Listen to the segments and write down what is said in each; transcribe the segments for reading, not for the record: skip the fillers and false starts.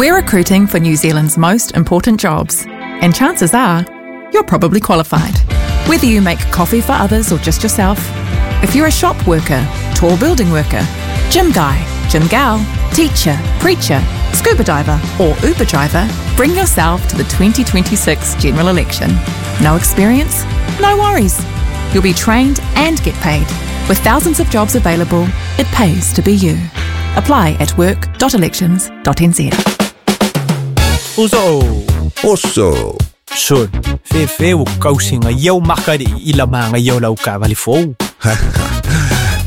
We're recruiting for New Zealand's most important jobs, and chances are you're probably qualified. Whether you make coffee for others or just yourself, if you're a shop worker, tall building worker, gym guy, gym gal, teacher, preacher, scuba diver, or Uber driver, bring yourself to the 2026 general election. No experience? No worries. You'll be trained and get paid. With thousands of jobs available, it pays to be you. Apply at work.elections.nz. Uso. Oso. Sol. Fefe o kausinga iau makari i la manga iau lau kavali fou.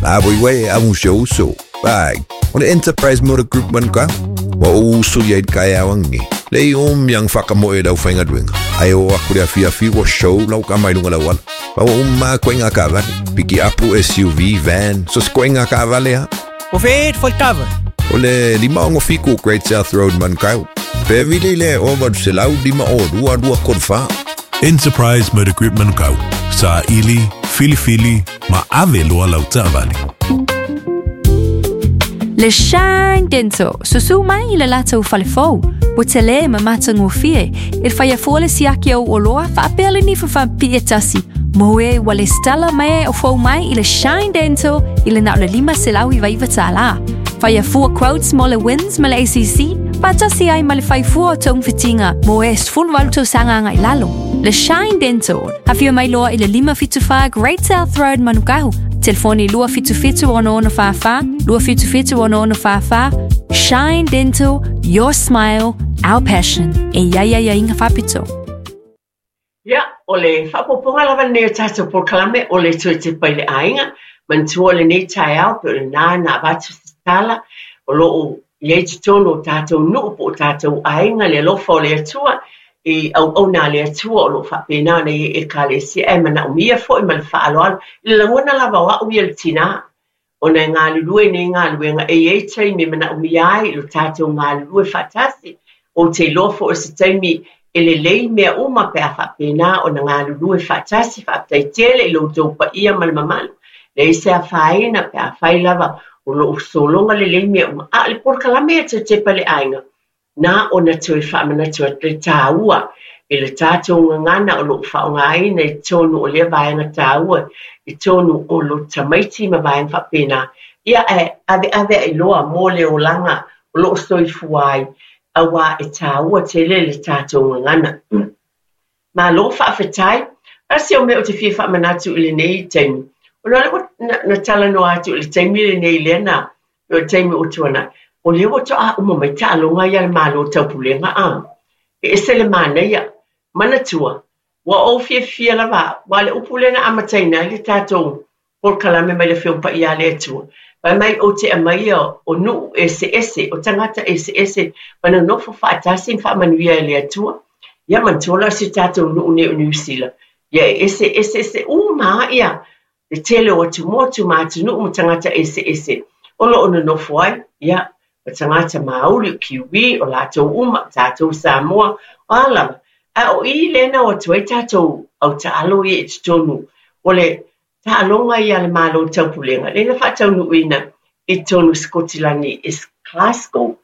A voi wei a un show so. Bai. O le Enterprise Motor Group man ka. Wa o usu ia i kai awangi. Le o miang whakamoe lau whainga duenga. Ai o aku le awhi awhi wa show lau ka mai lunga lau ala. Pa wa umma koe ngā kavale. Piki apu SUV, van, so se koe ngā kavale ha. O fe fo kava. O le 567 Great South Road Manukau. Pe vile le o valu se lau lima o lua lua kolu wha. Enterprise Motor Group Manukau. Sa ili, filifili, ma ave loa lau taavale. Le Shine Dental, susu mai i le latou fale fou. Ua tele ma matagofie, e faia fua le siaki au oloa faapea le nifa faapipii e tasi. Mo e ua lesitala mai o fou mai i le Shine Dental i le na o le $599 tālā. Faia fua quotes mo le WINZ ma le ACC, faatasi ai ma le fai fua o togafitiga mo e 18 tausaga agai lalo. Le Shine Dental, afio mai loa i le 574 Great South Road Manukau. Telefoni 277 6644 277 6644. Shine Dental, your smile, our passion. E iai aiaiga faapito. Ia, o le faaopoopoga lava lenei o tatou polokalame o le toe tepa i le aiga, manatua lenei taeao pe o lena na avatu se tala o lo o i ai totonu o tatou nuu po o tatou aiga le alofa o le Atua i auauna a le Atua o lo o faapena ona i ai Ekalesia ae manaomia foi ma le faaaloalo i le lagona lava o au ia le tinā ona e galulue nei galuega e i ai taimi e manaomia ai lo tatou galulue faatasi. Ou te iloa foi o se taimi e lelei mea uma pe a faapena ona galulue faatasi. Faafetai tele i lo outou paia ma le mamalu. Leai se afaina pe afai lava o lo o sologa lelei mea uma. A o le polokalame ia toe tepa i le aiga, na ona toe faamanatu atu le taua i le tatou gagana o lo o faaaogaina i totonu o lea vaega taua i totonu o lo tamaiti ma vaega faapena. Ia ae aveave ai loa mo le olaga o lo o soifua ai, auā e taua tele le tatou gagana. Malo faafetai. Tasi o mea ou te fia faamanatu i lenei taimi, ona o lea ua na talanoa atu i le taimi lenei lea na o le taimi ua tuanai, o lea ua toa uma mai taaloga ia a le Malo Taupulega a. E ese le manaia. Manatua, ua ou fiafia lava au, aua o le upu lea na amataina ai le tatou polokalame mai le Afioga Paia a le Atua, fai mai ou te aumaia o nuu eseese, o tagata eseese ma nonofo faatasi ma faamanuia e le Atua. Ia manatua la o si o tatou nuu nei o Niu Sila, ia e ese eseese uma lava ia le tele o atumotu ma atunuu ma tagata eseese o lo o nonofo ai, ia, o tagata Māori, o Kiwi, o latou uma, tatou Samoa, o a lava. A o i lea na o atu ai tatou au taalo ia i totonu o le taaloga ia a le Malo Taupulega, lea na faataunuuina i totonu o Sikotilani i Glasgow.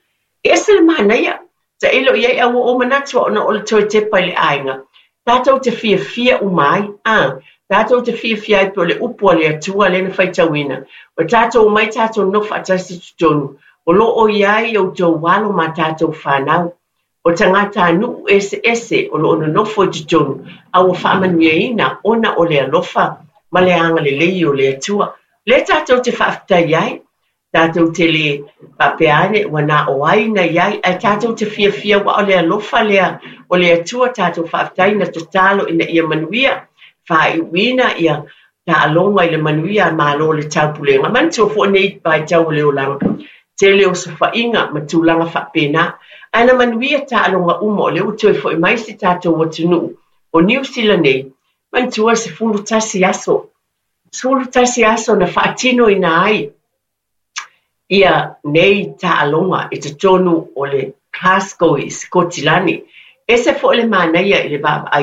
E ese le manaia, tailo i ai a ua ou manatu ona o le toe tepa i le aiga, tatou te fiafia uma ai, a, tatou te fiafia ai pei o le upu a le Atua lea na faitauina, ua tatou omai tatou nofo faatasi i totonu, o lo o i ai outou alo ma tatou fanau, o tagatanuu eseese o lo o nonofo i totonu, a ua faamanuiaina ona o le alofa ma le agalelei o le Atua. Lea tatou te faafetai ai, Tatou te le faapea ane ua na o ai na i ai, ae tatou te fiafia aua o le alofa lea o le Atua tatou faafetai na tatalo ina ia manuia, faaiuina ia taaloga i le manuia a Malo o le Taupulega. Manatua foi nei vaitau o le olaga, tele osofaiga ma tulaga faapena, ae na manuia taaloga uma o lea ua toe foi mai si tatou atunuu o Niu Sila nei, manatua e 11 aso 11 aso na faatinoina ai ia nei taaloga i totonu o le Glasgow i Sikotilani. Ese foi le manaia i le vaavaai